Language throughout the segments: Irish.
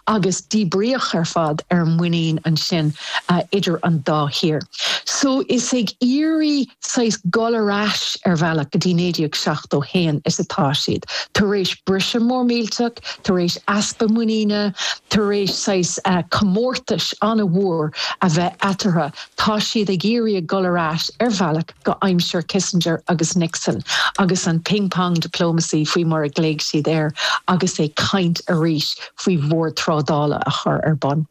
Agus díbríodh ar fad ar an muinín ansin idir an dá thír. So is ag iarraidh saghas dul ar ais ar bhealach go dtí 1971 is atá siad, tar éis briseadh mór millteach, tar éis easpa muiníne, tar éis saghas comórtais an-mhór a bheith eatarthu, tá siad ag iarraidh a dhul ar ais ar bhealach go aimsir Kissinger agus Nixon agus an ping pong diplomacy faoi mar a ghlaoigh siad air agus ag caint arís faoi bhord trádála a chur ar bun.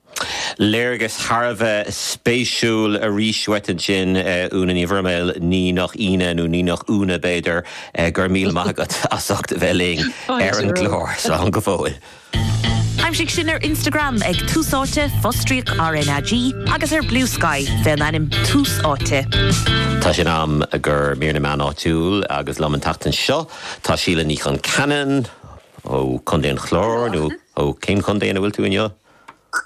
Léargas thar a bheith spéisiúil arís uait ansin, Úna Ní Bhroiméil, ní nach ionadh nó ní nach Úna b'fhéidir. Go raibh míle maith agat as ucht a bheith linn ar an gclár. Slán go fóill. Aimsigh sinn ar Instagram ag Tús Áite, fostríoc RnaG, agus ar Bluesky fén ainm Tús Áite. Tá sé in am do mhír na meán áitiúil agus liom an tseachtain seo tá Síle Ní Chonceanainn ó Chontae an Chláir nó ó cén chontae ina bhfuil tú inniu?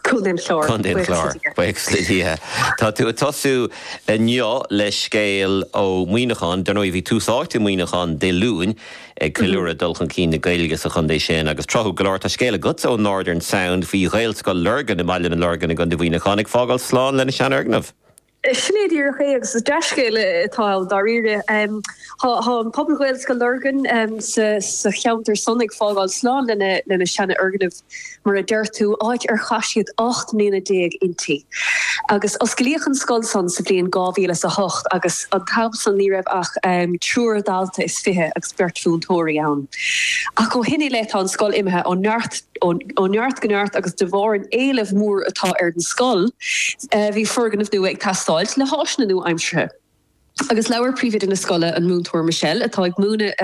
Contae an Chláir. Contae an Chláir. Buíochas le Dia. Tá tú ag tosú inniu le scéal ó Mhuineachán. Dar ndóigh, bhí Tús Áite i Muineachán Dé Luain ag ceiliúradh dul chun cinn na Gaeilge sa chontae sin agus tráthúil go leor, tá scéal agatsa ón Northern Sound faoi Ghaelscoil Lurgan i mBaile na Lorgan i gContae Mhuineacháin ag fágáil slán lena seanfhoirgneamh. Sin é díreach é agus is dea-scéal atá ann dáiríre. Tá an pobal Ghaelscoil Lurgan sa cheantar san ag fágáil slán lena seanfhoirgneamh, mar a deir tú, áit ar chaith siad 18 mbliana inti. Agus osclaíodh an scoil san sa bhliain 2008 agus an t-am san ní raibh ach triúr dalta is fiche agus beirt mhúinteoirí ann. Ach ó shin i leith tá an scoil imithe ó neart ó neart go neart agus de bharr an éilimh mhór atá ar an scoil, bhí foirgneamh nua ag teastáilt le háiseanna nua-aimseartha. Agus labhair príomhoide na scoile, an Múinteoir Michelle, atá ag múineadh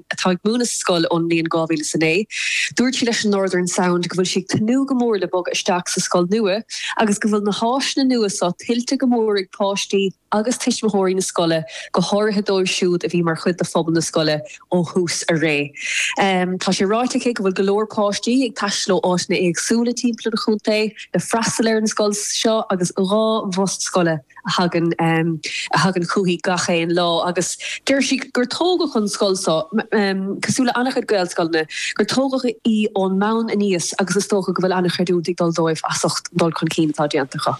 atá ag múineadh sa scoil ón mbliain 2009, dúirt sí leis an Northern Sound go bhfuil sí ag tnúth go mór le bogadh isteach sa scoil nua agus go bhfuil na háiseanna nua seo tuillte go mór ag páistí agus tuismitheoirí na scoile, go háirithe dóibh siúd a bhí mar chuid de phobal na scoile ó thús a ré. Tá sé ráite aici go bhfuil go leor páistí ag taisteal ó áiteanna éagsúla timpeall an chontae le freastal ar an scoil seo agus 2 bhus scoile a thagann a thagann chuici gach aon lá agus deir sí gur tógadh an scoil seo, cosúil le an-chuid Gaelscoileanna, gur tógadh í ón mbonn aníos agus is dócha go bhfuil an-chreidiúint ag dul dóibh as ucht an dul chun cinn atá déanta acu.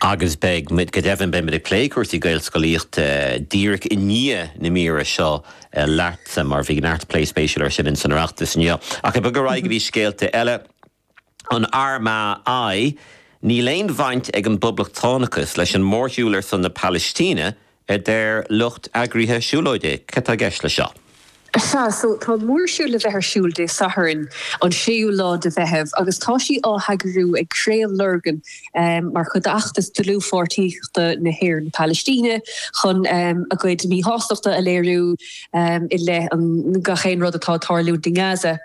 Agus beidh muid, go deimhin, beidh muid ag plé cúrsaí Gaelscolaíochta díreach i ndiaidh na míre seo leatsa, mar bhí neart plé spéisiúil ar sin in san Oireachtas inniu. Ach ag bogadh ar aghaidh go dtí scéalta eile, an RMAI, níl aon bhaint ag an bpoblachtánachas leis an mórshiúl ar son na Palaistíne, a deir lucht eagraithe siúlóide. Cad tá i gceist leis seo? Sea, so tá mórshiúl le bheith ar siúl Dé Sathairn, an séú lá de Mheitheamh, agus tá sí á heagrú ag Craobh Lurgan mar chuid d'fheachtas dlúthpháirtíochta na hÉireann-Palaistíne chun a gcuid míshástachta a léiriú i leith an gach aon rud atá ag tarlúint i nGaza.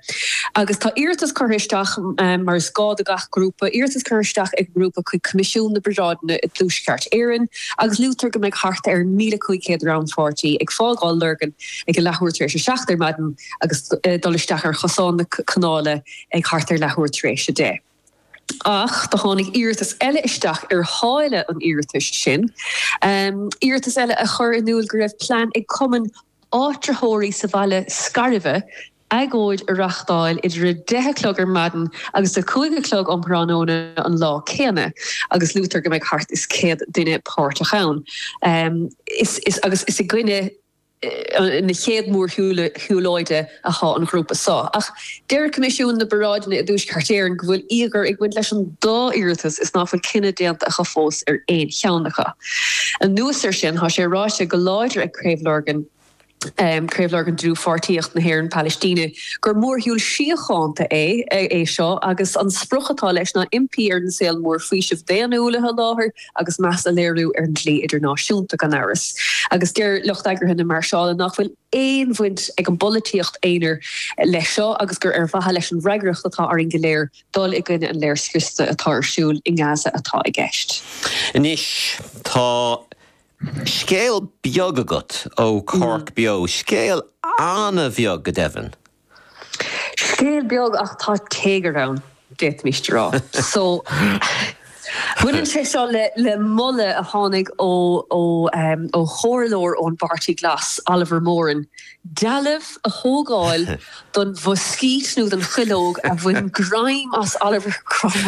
Agus tá iarratas curtha isteach, mar is gá do gach grúpa, iarratas curtha isteach ag an ngrúpa chuig Coimisiún na bParáideanna i dTuaisceart Éireann agus luaitear go mbeidh thart ar 1,500 rannpháirtí ag fágáil Lurgan ag a leathuair tar éis a seacht ar maidin agus dul isteach ar chosán na canála ag thart ar leathuair tar éis a deich. Ach do tháinig iarratas eile isteach ar sháile an iarratais sin, iarratas eile a chuir in iúl go raibh plean ag cumann áitritheoirí sa bhaile Scairbhe agóid a reachtáil idir a deich a chlog ar maidin agus a cúig a chlog um thráthnóna an lá céanna agus luaitear go mbeidh thart is 100 duine páirteach ann. Is agus is i gcoinne na chéad mhórshiúlóide athá an ghrúpa seo. Ach deir Coimisiún na bParáideanna i dTuaisceart Éireann go bhfuil íogair ag baint leis an dá iarratas is nach bhfuil cinneadh déanta acu fós ar aon cheann acu. Anuas air sin, tá sé ráite go láidir ag Craobh Lurgan, Craobh Lurgan Dlúthpháirtíocht na hÉireann Palaistíne, gur mórshiúl síochánta é é seo agus an sprioc atá leis ná impí ar an saol mór faoiseamh daonnúil a sholáthar agus meas a léiriú ar an dlí idirnáisiúnta, gan amhras. Agus deir lucht eagraithe na máirseála nach bhfuil aon bhaint ag an bpolaitíocht aonair leis seo agus gur ar mhaithe leis an bhfreagracht atá orainn go léir dul i gcoinne an léirscriosta atá ar siúl i nGaza atá i gceist. Anois, tá scéal beag agat ó Cork Beo, scéal an-bheag go deimhin. Scéal beag ach tá téagar ann, d'fhéadfaimis a rá. So, baineann sé seo le le moladh a tháinig ó ó ó chomhairleoir ón bPáirtí Glas, Oliver Moran, dealbh a thógáil don mhuiscít nó don chuileog a bhain greim as Oliver Cromwell.